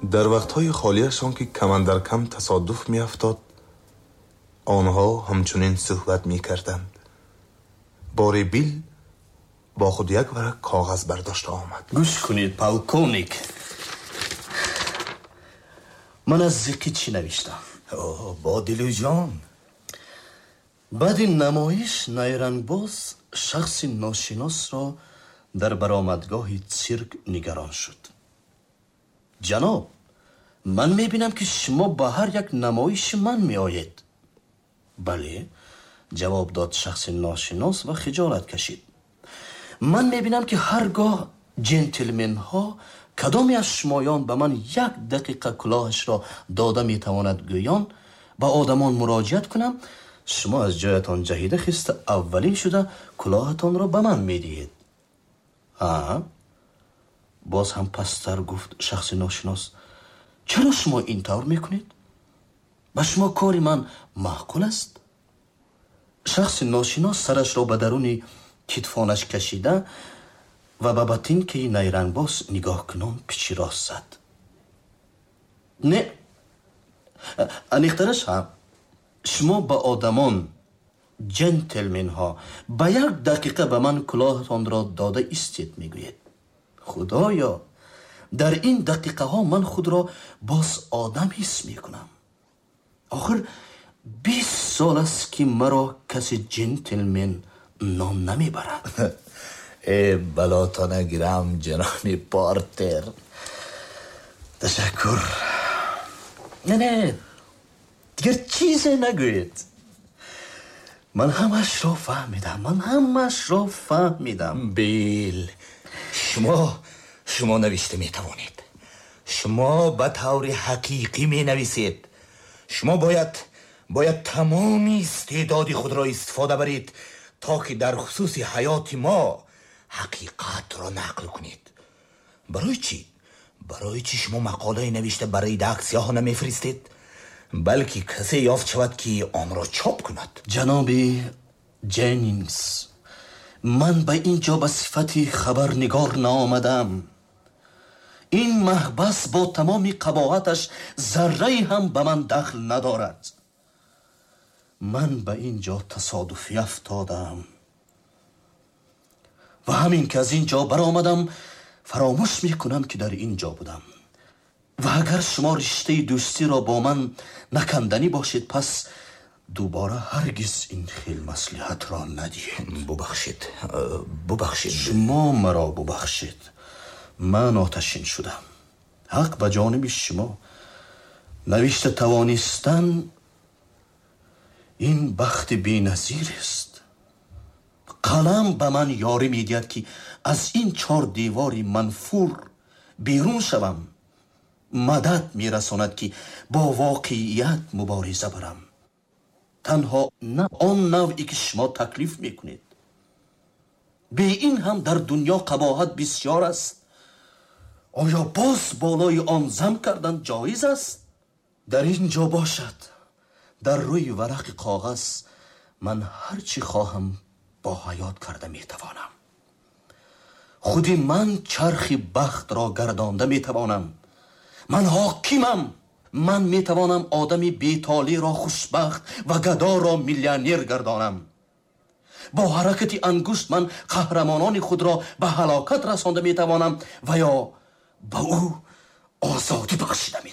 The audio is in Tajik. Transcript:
Дар вақтҳои холиашон, ки камандаркам тасодуф меафтод, онҳо ҳамчунин суҳбат мекарданд. Бори Бил бо худ як варақ коғаз бардошта омад. Гӯш кунед, полковник, ман аз зиқӣ чӣ навиштам? Бо дилу ҷон. Баъди намоиш найрангбоз шахси ношиносро дар баромадгоҳи цирк нигарон шуд. Ҷаноб, ман мебинам, ки шумо ба ҳар як намоиши ман меоед. Бале, ҷавоб дод шахси ношинос ва хиҷолат кашид. Ман мебинам, ки ҳар гоҳ ҷентлменҳо кадоме аз шумоён ба ман як дақиқа кулоҳашро дода метавонад гӯён ба одамон муроҷиат кунам, шумо аз ҷоятон ҷаҳида хиста аввалин шуда кулоҳатонро ба ман медиҳед. Ҳа? Боз ҳам пасттар гуфт шахси ношинос. Чаро шумо ин тавр мекунед? Ба шумо кори ман маъқул аст? Шахси ношинос сарашро ба даруни китфонаш кашида ва ба ботинкаи найрангбоз нигоҳ кунон пичи рост зад. Не, аниқтараш ҳа, шумо ба одамон, ҷентлменҳо, ба як дақиқа ба ман кулоҳатонро дода истед мегӯед. Худоё, дар ин дақиқаҳо ман худро боз одам ҳис мекунам. Охир 20 сол аст, ки маро касе ҷентлмен ном намебарад. Э, балото нагирам, ҷаноби Портер. Ташаккур. Не, не, дигар чизе нагӯед. Ман ҳамашро фаҳмидам, ман ҳамашро фаҳмидам. Бил, шумо навишта метавонед. Шумо ба таври ҳақиқӣ менависед. Шумо бояд тамоми истеъдоди худро истифода баред, то ки дар хусуси ҳаёти мо ҳақиқатро нақл кунед. Барои чӣ? Барои чӣ шумо мақолае навишта ба редаксияҳо намефиристед, балки касе ёфт шавад, ки онро чоп кунад? Ҷаноби Ҷеннингс, ман ба ин ҷо ба сифати хабарнигор наомадам. Ин маҳбас бо тамоми қабоҳаташ заррае ҳам ба ман дахл надорад. Ман ба ин ҷо тасодуфӣ афтодам ва ҳамин ки аз ин ҷо баромадам, фаромӯш мекунам, ки дар ин ҷо будам. Ва агар шумо риштаи дӯстиро бо ман наканданӣ бошед, пас дубора ҳаргиз ин хел маслиҳатро надиҳед. Бубахшед, бубахшед. Шумо маро бубахшед. Ман оташин шудам. Ҳақ ба ҷониби шумо. Навишта тавонистан ин бахти беназир аст. Қалам ба ман ёрӣ медиҳад, ки аз ин чор девори манфур берун шавам. Мадад мерасонад, ки бо воқеият мубориза барам. Танҳо на он навъе, ки шумо таклиф мекунед. Бе ин ҳам дар дунё қабоҳат бисёр аст. Оё боз болои он зам кардан ҷоиз аст? Дар ин ҷо бошад, дар рӯи варақи коғаз ман ҳар чӣ хоҳам бо ҳаёт карда метавонам. Худи ман чархи бахтро гардонда метавонам. Ман ҳокимам. Ман метавонам одами бетолеъро хушбахт ва гадоро миллионер гардонам. Бо ҳаракати ангушт ман қаҳрамонони худро ба ҳалокат расонда метавонам ва ё ба ӯ озодӣ бахшида метавонам.